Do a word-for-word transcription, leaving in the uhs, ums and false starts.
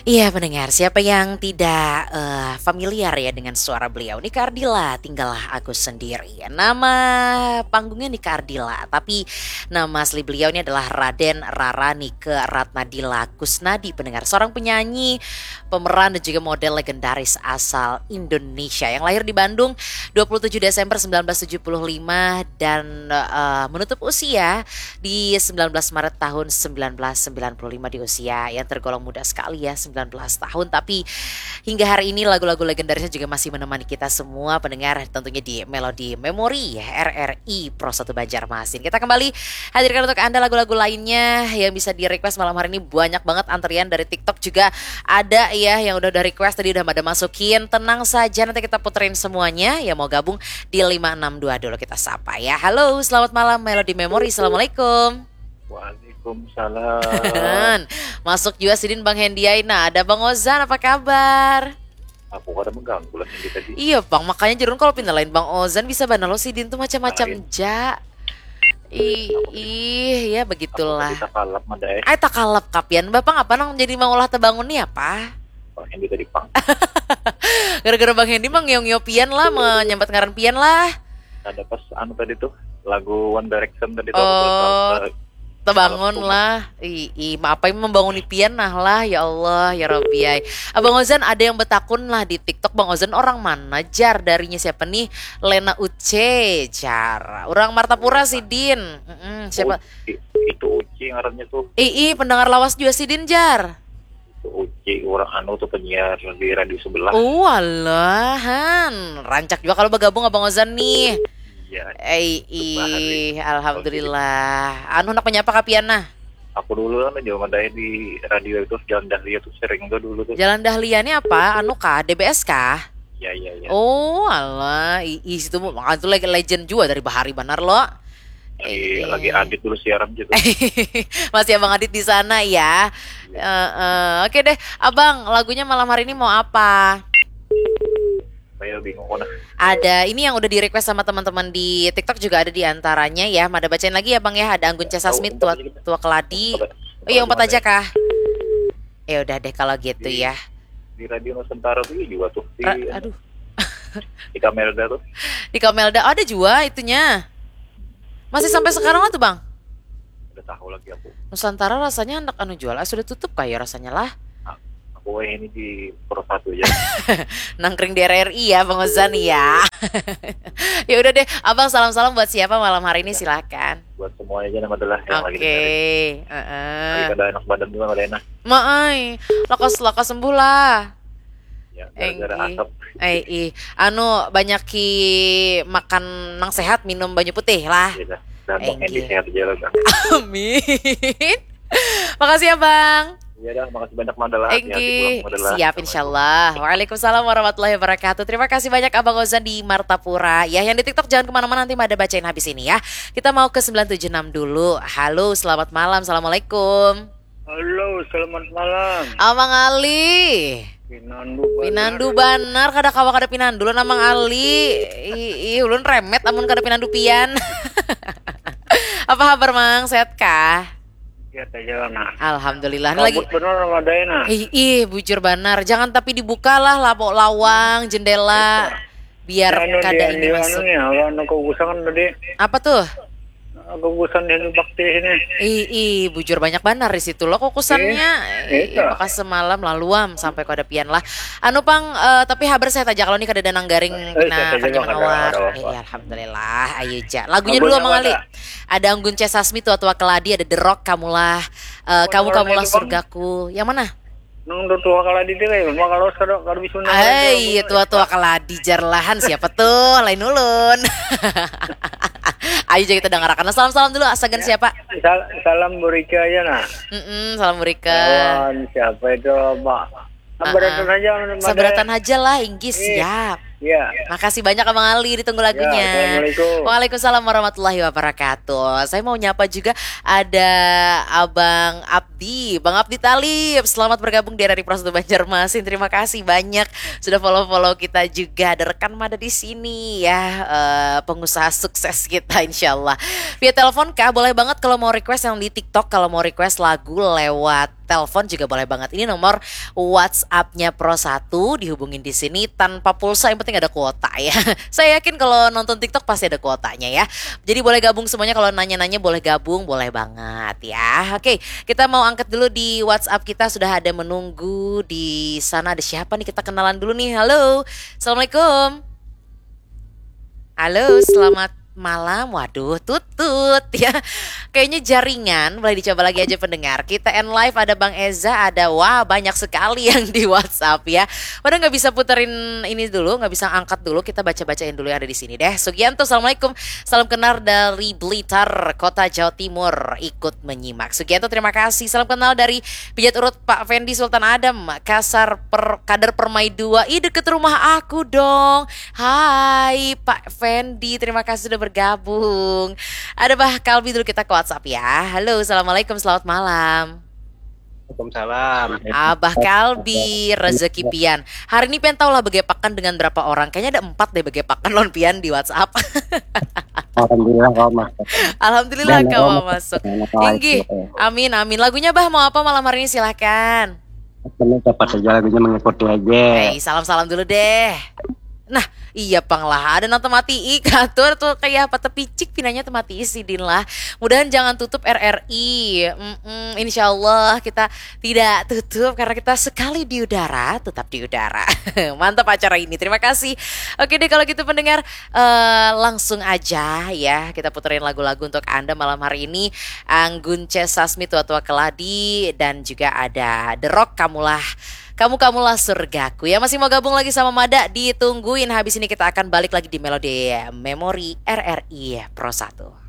Iya, pendengar, siapa yang tidak eh, familiar ya dengan suara beliau? Nika Ardila, tinggallah aku sendiri. Nama panggungnya Nika Ardila, tapi nama asli beliau ini adalah Raden Rara Nike Ratnadila Kusnadi, pendengar. Seorang penyanyi, pemeran dan juga model legendaris asal Indonesia yang lahir di Bandung dua puluh tujuh Desember sembilan belas tujuh puluh lima dan eh, menutup usia di sembilan belas Maret tahun sembilan belas sembilan puluh lima, di usia yang tergolong muda sekali ya, sembilan belas tahun, tapi hingga hari ini lagu-lagu legendarisnya juga masih menemani kita semua pendengar, tentunya di Melody Memory R R I Pro satu Banjarmasin. Kita kembali hadirkan untuk Anda lagu-lagu lainnya yang bisa di-request malam hari ini. Banyak banget antrian dari TikTok juga ada ya, yang udah udah request tadi udah pada masukin. Tenang saja, nanti kita puterin semuanya. Ya, mau gabung di lima enam dua dulu, kita sapa ya. Halo, selamat malam Melody Memory. Assalamualaikum. Waalaikumsalam. Masuk juga sidin Bang Hendy Aina. Ada Bang Ozan, apa kabar? Aku kada mengganggu lah Hendy tadi. Iya, Bang, makanya jerun kalau pindah lain Bang Ozan bisa bana lo sidin tuh macam-macam ja. Ih, ih, ya begitulah. Kita kalap mada eh. Ay, takalap kapian, Bapak, apa nang jadi mangulah tebangun nih apa? Bang Hendy tadi pang. Gara-gara Bang Hendy mah ngio-ngio pian lah, menyambat ngaran pian lah. Ada pas anu tadi tuh, lagu One Direction tadi tuh. Oh, Aku terus tebangun lah. Ih, ih, ma apa yang membanguni pian nah lah, ya Allah, ya Rabbi ay. Abang Ozan, ada yang betakun lah di TikTok, Bang Ozan orang mana jar, darinya siapa nih? Lena Uce jar. Orang Martapura sidin. Mm-mm, siapa? Uci, itu Uci ngarannya tuh. Ih, ih, pendengar lawas juga sidin jar. Itu Uci orang anu tuh penyiar di radio sebelah. Oh, alahan. Rancak juga kalau bergabung Abang Ozan nih. Iya. Eh, ih, alhamdulillah. Anu, nak menyapa kapian nah? Aku dulu kan jauh madai di radio itu, Jalan Dahlia tuh sering tuh dulu tuh. Jalan Dahlia ini apa? Anu kah? D B S kah? Iya, iya, iya. Oh, alah, ih, situ makanya tuh lagi legend juga dari bahari banar lo. Lagi, lagi Adit dulu siaran gitu. Masih Abang Adit di sana ya. Eh, eh, oke deh, Abang, lagunya malam hari ini mau apa? Saya bingung kok nah. Ada, ini yang udah di-request sama teman-teman di TikTok juga ada di antaranya ya. Mada bacain lagi ya, Bang, ya. Ada Anggun C Sasmi, Oh, tua, empat aja. Tua Keladi. Empat, Oh, iya, empat empat aja aja. Kah? Ya udah deh kalau gitu Di- ya. Di Radio Nusantara tuh juga tuh di, Ra- aduh, di Kamelda tuh. Di Kamelda ada juga itunya. Masih sampai sekarang lah tuh, Bang. Udah tahu lagi aku. Nusantara rasanya hendak anu jual, ah, sudah tutup kayak rasanya lah. Aku ini di Pro satu aja. Nangkring di R R I ya, Bang Ozan ya. Ya udah deh, Abang, salam-salam buat siapa malam hari ini, silakan. Buat semuanya aja nama adalah yang lagi Oke, dengerin. heeh. Lagi kada enak badan juga, kada enak. Maai, lakas lakas sembuh lah. Ya, gara-gara Enggi. Asap. Eh, ih, anu, banyak ki makan nang sehat, minum banyu putih lah. Gitu. Dan mau Enggi. Hendy sehat aja lah, Bang. Amin. Makasih ya, Bang. Iya dah, makasih banyak, Mandala. Hati-hati Enggi, pulang, Mandala. siap, insyaallah. Waalaikumsalam warahmatullahi wabarakatuh. Terima kasih banyak, Abang Ozan di Martapura. Ya, yang di TikTok jangan kemana-mana, nanti Mada bacain habis ini ya. Kita mau ke sembilan tujuh enam dulu. Halo, selamat malam. Assalamualaikum. Halo, selamat malam. Abang Ali. Pinandu. Pinandu banar, kada kawa kada pinandu lo, Amang Ali. Ih, ih, ulun remet amun kada pinandu pian. Apa kabar, Mang? Sehat kah? Sehat aja lah, nah. Alhamdulillah. Ini lagi Kabut benar Ramadai, nah. Ih, ih, bujur banar. Jangan tapi dibuka lah labo-, lawang, jendela. Biar Anu, kada di- ini di masuk. Anu nih, anu, anu, kukusan tadi. Apa tuh? Kukusan di bakti ini. Ih, ih, bujur banyak banar di situ lo kukusannya. Iya, Ih, iya. Maka semalam laluam sampai kada pian lah. Anu, Pang, eh, tapi habar sehat aja kalau nih kada ada nang garing Eh, pina sehat aja, kada Bang, ada, mangawak. ada apa. Iya, alhamdulillah. Ayo ja. Lagunya Lagunya dulu, Mang apa Ali. ada? Ada Anggun C Sasmi, Tua-tua Keladi, ada The Rock, Kamulah, eh, Oh, Kamu orang Kamulah itu, Bang. Surgaku. Yang mana? Nang tua-tua Keladi dia kayak, Bang, kalau kada, kada bisa nang Hai, ada, tua-tua Keladi jar lahan, siapa tuh? Lain ulun. Ayo ja kita dangarakan. Salam-salam dulu, asagan siapa? Sal- salam Burika aja, nah. Mm-mm, salam Burika. Kawan siapa itu, Pak? Ah, Sabaratan ah. aja, Mas. Sabaratan aja lah, inggih, Iya. Siap. Ya. Makasih banyak Abang Ali, ditunggu lagunya. Ya, assalamualaikum. Waalaikumsalam warahmatullahi wabarakatuh. Saya mau nyapa juga ada Abang Abdi, Bang Abdi Talib. Selamat bergabung di R R I Pro satu Banjarmasin. Terima kasih banyak sudah follow-follow kita juga. Ada rekan Mada di sini ya, eh, pengusaha sukses kita insyaallah. Via telepon kah? Boleh banget kalau mau request yang di TikTok, kalau mau request lagu lewat telepon juga boleh banget. Ini nomor WhatsApp-nya Pro satu, dihubungin di sini tanpa pulsa, yang penting ada kuota ya. Saya yakin kalau nonton TikTok pasti ada kuotanya ya. Jadi boleh gabung semuanya, kalau nanya-nanya boleh gabung, boleh banget ya. Oke, kita mau angkat dulu di WhatsApp kita, sudah ada menunggu di sana, ada siapa nih, kita kenalan dulu nih. Halo. Assalamualaikum. Halo, selamat malam. Waduh, tutut ya. Kayaknya jaringan, boleh dicoba lagi aja pendengar. Kita end live, ada Bang Eza, ada, wah, banyak sekali yang di WhatsApp ya. Padahal nggak bisa puterin ini dulu, nggak bisa angkat dulu. Kita baca-bacain dulu yang ada di sini deh. Sugianto, assalamualaikum. Salam kenal dari Blitar, Kota Jawa Timur. Ikut menyimak. Sugianto, terima kasih. Salam kenal dari Pijat Urut, Pak Fendi Sultan Adam, Kasar per, Kadar Permai dua. Ih, deket rumah aku dong. Hai Pak Fendi, terima kasih sudah bergabung. Ada Bah Kalbi dulu, kita ke WhatsApp ya. Halo, assalamualaikum, selamat malam. Waalaikumsalam. Abah Kalbi, rezeki pian. Hari ini pian tahu lah begepakan dengan berapa orang. Kayaknya ada empat deh begepakan lawan pian di WhatsApp. Alhamdulillah kawa masuk. Alhamdulillah Dan kawa kawa masuk. Nah, kawa Inggih. masuk, eh. Amin, amin. Lagunya Bah mau apa malam hari ini, silahkan. Kami dapat saja lagunya, mengikuti aja. Eh, salam-salam dulu deh. Nah, iya pang lah. Ada nang temati i katur tuh, kayak apa, tepicik pinanya temati i sidin lah. Mudahan jangan tutup R R I. Mm-mm, insya Allah kita tidak tutup karena kita sekali di udara, tetap di udara. Mantap acara ini. Terima kasih. Oke deh, kalau gitu pendengar, eh, langsung aja ya kita puterin lagu-lagu untuk Anda malam hari ini. Anggun C Sasmi, Tua-tua Keladi, dan juga ada The Rock, Kamulah, Kamu Kamulah Surgaku. Ya, masih mau gabung lagi sama Mada, ditungguin. Habis ini kita akan balik lagi di Melodi Memori R R I Pro satu.